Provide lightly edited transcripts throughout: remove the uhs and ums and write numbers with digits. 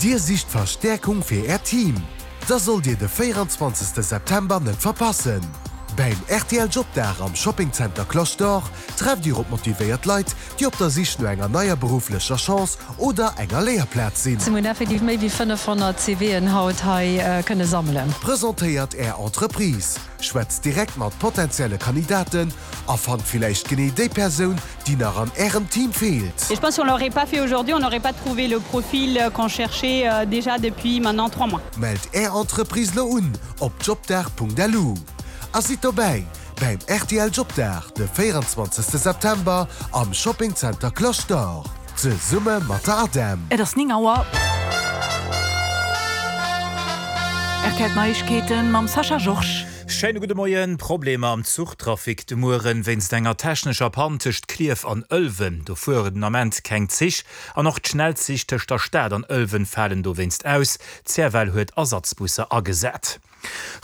Dir sicht Verstäerkung fir Äert Team? Da sollt Dir de 24 September net verpassen! Bäim rtl Jobdag am Shopping Center Cloche d'Or trefft Dir op motivéiert Leit, déi op der Sich no enger neier berufflecher Chance oder enger Léierplaz sinn. Mir hunn effektiv méi wéi 500 CVen haut hei kënne sammelen. Presentéiert Är Entreprise, schwätzt direkt mat potenzielle Kandidaten a fannt villäicht genee déi Persoun, déi nach an Ärem Team feelt. Et je pense si on l'aurait pas fait aujourd'hui, on n'aurait pas trouvé le profil qu'on cherchait déjà depuis maintenant 3 mois. Mellt Är Entreprise lo un op jobdag.lu a sidd dobäi bäim rtl Jobdag de 24 September am Shopping Center Cloche d'Or zesumme mat der ADEM. Et ass 9 Auer. Rtl Neiegkeeten mam Sascha Georges. Schéine gudde Moien. Problemer am Zuchtrafic de Mueren wéinst enger technescher Pann tëscht Klierf an Ëlwen. Do fuere den Ament keng Zich an och d'Schnellzich tëscht der Stad an Ëlwen falen dowéinst aus. D'CFL huet Ersatzbusser agesat.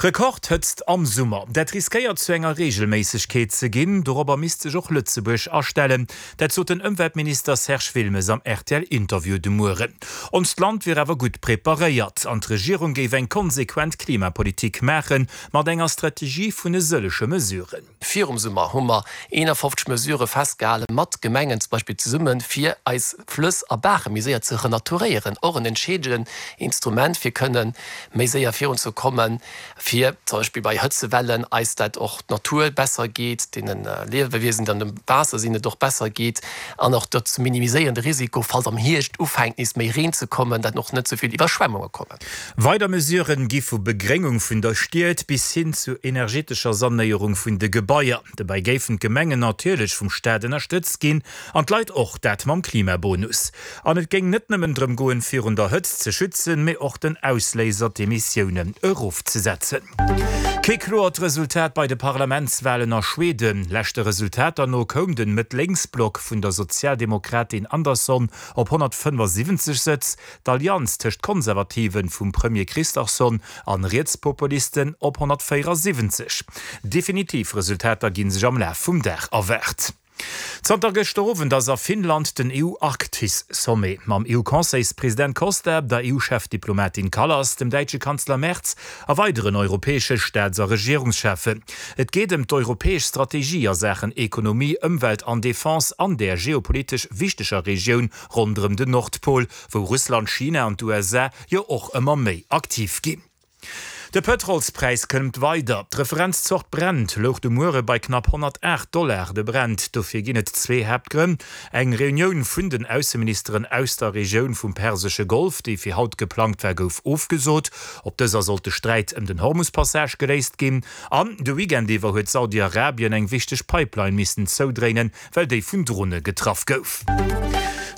Rekordhëtzt am Summer, dat riskéiert zu enger Reegelméissegkeet ze ginn. Dorobber misst sech och Lëtzebuerg astellen. Dat sot den Ëmweltminister Serge Wilmes am RTL-Interview de Mueren. Onst Land wier awer gutt preparéiert an d'Regierung géif eng konsequent Klimapolitik maache mat enger Strategie vun e sëllege Mesuren. Virum Summer hu mer 51 Mesurë festgehale mat Gemengen zum Beispill zesummen, fir eis Flëss a Baache méi séier ze renaturéieren. Och en entscheedenden Instrument, fir kënne méi séier virunzekommen, fir zum Beispill bei Hëtzewellen eis dat och d'Natur besser geet, deene Liewewiesen, déi an dem Waasser sinn, et och besser geet an och dat ze minimiséieren, de Risiko, falls am Hierscht ufänkt nees méi Reen ze kommen, dat och net esou vill Iwwerschwemmunge kommen. Weider Mesuren gi vu Begréngung vun der Stied bis hin zu energetescher Sanéierung vun de Gebaier. Dobäi géifen d'Gemengen natierlech vum Staat ënnerstëtzt ginn an d'Leit och, dat mam Klimabonus. An et géing net nëmmen drëm goen, virun der Hëtzt ze schützen, mee och den Ausléiser, d'Emissiounen erofzesetzen. Kee kloert Resultat bei de Parlamentswalen a Schweden. Leschte Resultater no koum den Mëtt-Lénks-Block vun der Sozialdemokratin Andersson op 175 Sëtz, d'Allianz tëscht Konservativen vum Premier Kristersson an Rietspopulisten op 174. Definitiv Resultater ginn sech am Laf vum Dag erwaart. Zanter gëschter Owend ass a Finnland den EU-Arktis-Sommet. Mam EU-Conseilspresident Costa, der EU-Chefdiplomatin Kallas, dem däitsche Kanzler Merz a weideren europäesche Staats a Regierungscheffen. Et geet ëm d'europäesch Strategie a Saachen Ekonomie, Ëmwelt an Defense an där geopolitesch wichteger Regioun ronderëm den Nordpol, wou Russland, China an d'USA jo och ëmmer méi aktiv ginn. De Pëtrolspräis klëmmt weider. D'Referenzzort Brent louch de Muere bei knapp 108 Dollar de Brent. Dofir ginn et zwee Haaptgrënn, Eng Reunioun vun den Ausseministeren aus der Regioun vum Persesche Golf, déi fir haut geplangt war, gouf ofgesot. Op dëser sollt de Sträit ëm den Hormus-Passage geléist ginn. An de Weekend iwwer huet Saudi-Arabien eng wichteg Pipeline missen zoudréinen, well déi vun Drone getraff gouf.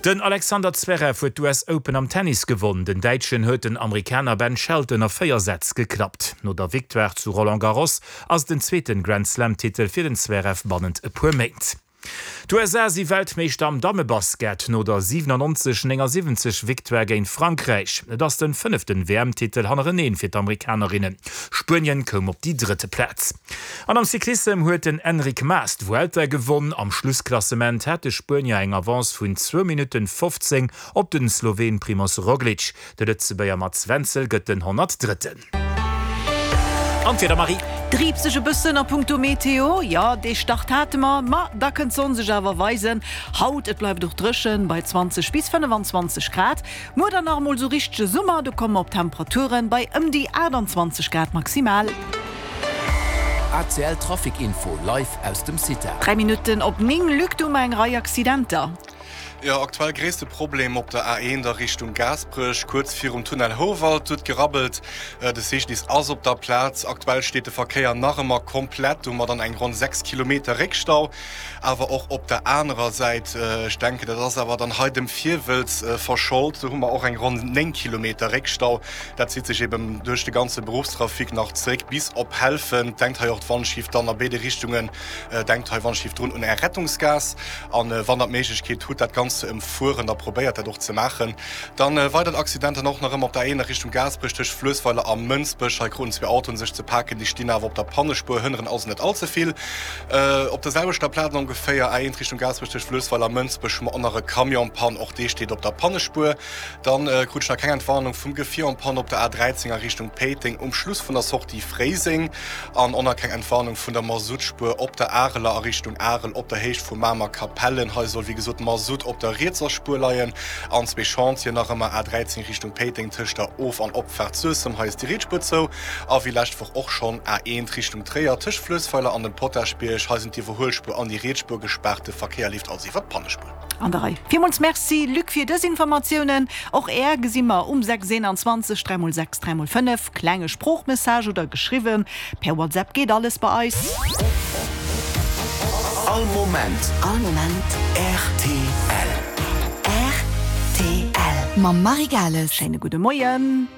Den Alexander Zverev huet d'US Open am Tennis gewonn. Den Däitschen huet den Amerikaner Ben Shelton a 4 Sätz geklappt. No der Victoire zu Roland Garros ass et den zweeten Grand-Slam-Titel fir den Zverev bannent e puer Méint. D'USA si Weltmeeschter am Dammebasket no der 97, 79 Victoire géint Frankräich. Et ass den fënneften WM-Titel hannereneen fir d'Amerikanerinnen. Spuenien koum op déi drëtte Plaz. An am Cyclissem huet den Enric Mas d'Vuelta gewonn. Am Schlussklassement hat de Spuenier eng Avance vun zwou Minutten 15 op den Sloween Primoz Roglic. De Lëtzebuerger Mats Wenzel gëtt den 103. An d'Wieder, Marie? Driibt sech e bëssen a punkto Meteo, jo, dee Start hate mer, ma da kënnt d'Sonn sech awer weisen haut. Et bleift och dréchen bei 20 bis 25 Grad. Muer dann nach emol sou richtege Summer, do komme mer op Temperaturen bei ëm déi 28 Grad maximal. ACL Trafic Info live aus dem CITA. 3 Minutten op 9, Luc, do hu mer eng Rei Accidenter. Jo, aktuell gréisste Problem op der A1 a Richtung Gaasperech, kuerz virum Tunnel Houwald huet gerabbelt. De CGDIS ass op der Plaz. Aktuell steet de Verkéier nach ëmmer komplett, do hu mer dann eng ronn 6 Kilometer Réckstau. Awer och op der anerer Säit, ech denken, dat ass awer dann hei dem Virwëlz verschold, do hu mer och eng ronn 9 Kilometer Réckstau. Dat zitt sech eben duerch de ganze Beruffstrafic nach zeréck bis op Helfent. Denkt hei och d'Wandschief dann a béide Richtungen, denkt hei Wandschief drun un Är Rettungsgaass. An wann Der d'Méiglechkeet hutt, dat Ganzt. ze ëmfueren, da probéiert dat och ze maachen. Dann weidert Accident dann och nach ëmmer op der A1 a Richtung Gaasperech tëscht Fluessweiler a Mënsbech. Hei kruten zwee Autoen sech ze paken, déi stinn awer op der Pannespuer, hënneren also net all ze vill. Op der selwechter Plaz ongeféier, A1 Richtung Gaasperech tëscht Fluessweiler a Mënsbech, hu mer och nach e Camion en panne, och dee steet op der Pannespuer. Dann krut ech nach keng Entwarnung vum Gefier en panne op der A13 a Richtung Péiteng um Schluss vun der Sortie Fréiseng an och nach keng Entwarnung vun der Masuttspuer op der Areler a Richtung Arel op der Héicht vu Mamer-Kapellen. Hei soll wéi gesot Masutt op der rietser Spuer leien an zwee Chantieren nach ëmmer A13 Richtung Péiteng tëscht der Of an Opfaart Suessem, hei ass déi riets Spuer zou a wéi lescht Woch och schonn A1 Richtung Tréier tëscht Fluessweiler an dem Potaschbierg, hei sinn d'Iwwerhuelspuer an déi riets Spuer gespaart, de Verkéier leeft also iwwer d'Pannespuer. An der Rei. Villmools Merci Luc fir dës Informatiounen. Och Är gesi mer um 6 21 3 mol 6 3 mol 5. Klenge Sproochmessage oder geschriwwen per WhatsApp geet alles bei eis. All Moment. All Moment. Rtl. Rtl. Mam Marie Gales. Schéine gudde Moien.